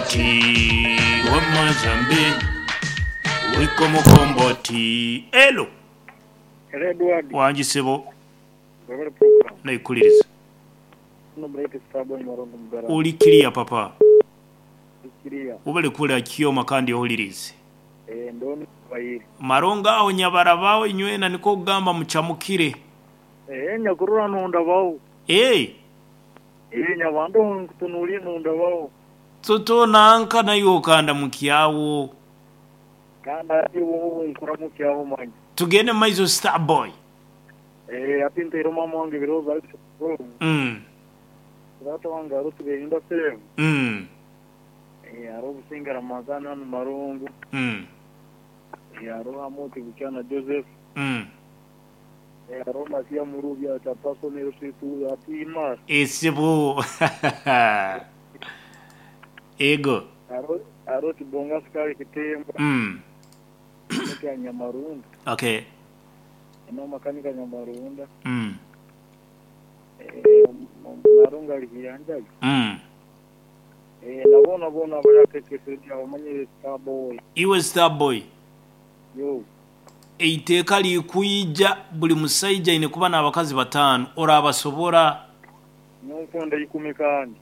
Mukomboti wamma Zambi Wiko mukomboti Elo Hello Edward. Wangi sebo. Webale program. Naikuliriza. Ono Bright Starboy Marongo Mugarama. Oli kiriya papa? Ndi kiriya. Webale kuwulira Kyoma kandi owulirize. Eeh ndona abayiri. Marongo aho nyabaraba inywena nikwo kugamba mucamukire. Eeh nyakurora nondabaho. Eeh. Eeh nyabandaho nkutunuliire nondabaho. Toto nanka naiwe okandamukyagho. Kandi hati obu nkuramukyaho manya. Tugende mu maiso Starboy. Eeh hati ntaire maama wange ebirowoozo ahari Sebo. Taata wange hariho Tiberinda Sebo. Eeh hariho Businge Ramadhan hanu Marongo. Eeh hariho Amooti Bukyana Joseph. Eeh hariho Masiya Murubi aha Kyapasomero Keitu hati Imara. Eeh sebo. Ego. Hariho Kibonga Sukali Kitemba. Ekya Nyamarunda. Okay. Eno makanika Nyamarunda. Marunga ali Hiyanjaga. Na boona boona abali aha KK Radio abamanyire Star Boy. Iwe Star Boy. Yo. Eiteeka lirikwija buli musaija aine kuba n'abakazi bataanu. Oraabasobora? Nyowe nkwenda ikumi kandi.